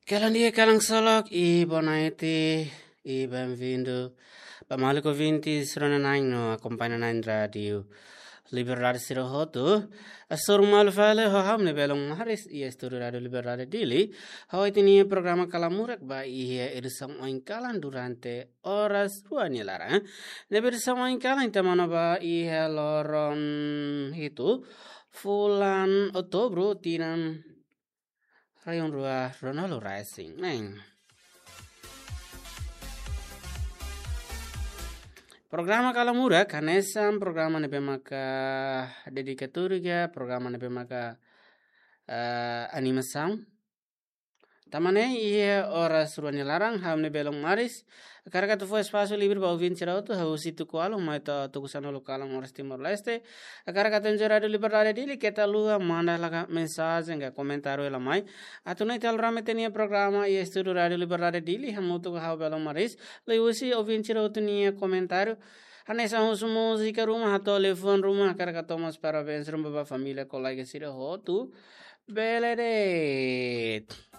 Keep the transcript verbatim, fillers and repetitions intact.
Kalan di'ak, kalan ksolok, i boa noite, i bem-vindo ba maluk ouvintes rona-na'in no akompaña na'in Rádiu Liberdade sira hotu. Hasoru malu fali ho ha'u-nia belun Maris iha estúdiu Rádiu Liberdade Dili. Ha'u iha ita-nia programa Kalamurak ba iha edisaun oin kalan durante oras rua nia laran. Ne'ebé edisaun oin kalan ita monu ba iha loron hitu fulan Outubru tinan rihun rua ruanulu resin neen. Programa Kalamurak hanesan programa ne'ebé maka dedikatóriu ka, programa ne'ebé maka, eh, animasaun. Tanba ne'e iha oras rua nia laran, ha'u-nia belun Maris hakarak atu fó espasu livre ba ouvinte sira hotu, hahú husi tuku ualu mai to'o tuku sanulu kalan oras Timor-Leste. Hakarak atu enjoy Rádiu Liberdade Dili, keta haluha manda hela mensajen ka komentáriu hela mai. Atu nune'e ita lori mai ita-nia programa iha estúdiu Rádiu Liberdade Dili, hamutuk ho ha'u belun Maris. Liuhusi ouvinte sira hotu nia komentáriu, hanesan husu múzika ruma, hato'o liafuan ruma, hakarak atu hato'o mós parabéns ruma ba família, kolega sira hotu. Bele de'it.